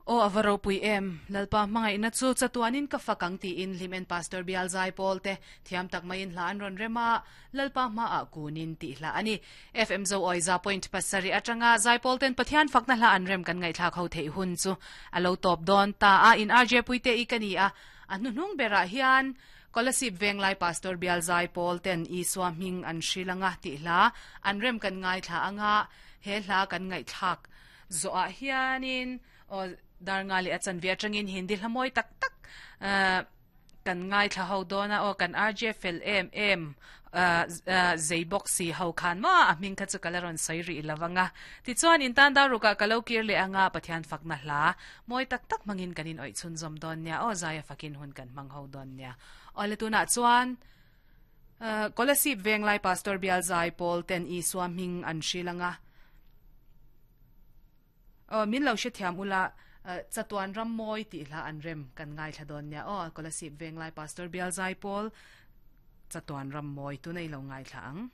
Aw a va ropui em, Lalpa hmangaihna chu chatuanin ka fak ang tiin Hlimen Pastor Bial Zaipawl te thiam tak maiin hla an rawn rem a, Lalpa hmaah kunin tih hla a ni. FM Zo Awi za point pasarih atanga Zaipawl ten Pathian fakna hla an rem kan ngaihthlak ho theih hun chu a lo tawp dawn ta a, in RJ Puite i ka ni a, a hnuhnung berah hian Kolasib Venglai Pastor Bial Zaipawl ten Isua hming an hril anga tih hla an rem kan ngaithla anga he hla kan ngaihthlak Zawhah hianin aw dar nga leh a chanve atangin Hindi hla mawi tak tak kan ngaithla ho dawn a, aw kan RJ fel em em zei bawk si ho khan maw a hming kha chu ka la rawn sawi rih lo ang a. Tichuan in tan dar rukah ka lo kir leh anga Pathian fakna hla mawi tak tak hmangin kan inawih chhunzawm dawn nia, aw zaia fakin hun kan hmang ho dawn nia. Aw le tunah chuan Kolasib Venglai Pastor Bial Zai Pawl ten Isua hming an hril ang a. Aw, min lo hrethiam ula, Chatuan ram mawi tih hla an rem kan ngaithla dawn nia. Aw, Kolasib Venglai Pastor Bial Zai Pawl, Chatuan ram mawi tuna i lo ngaithla ang.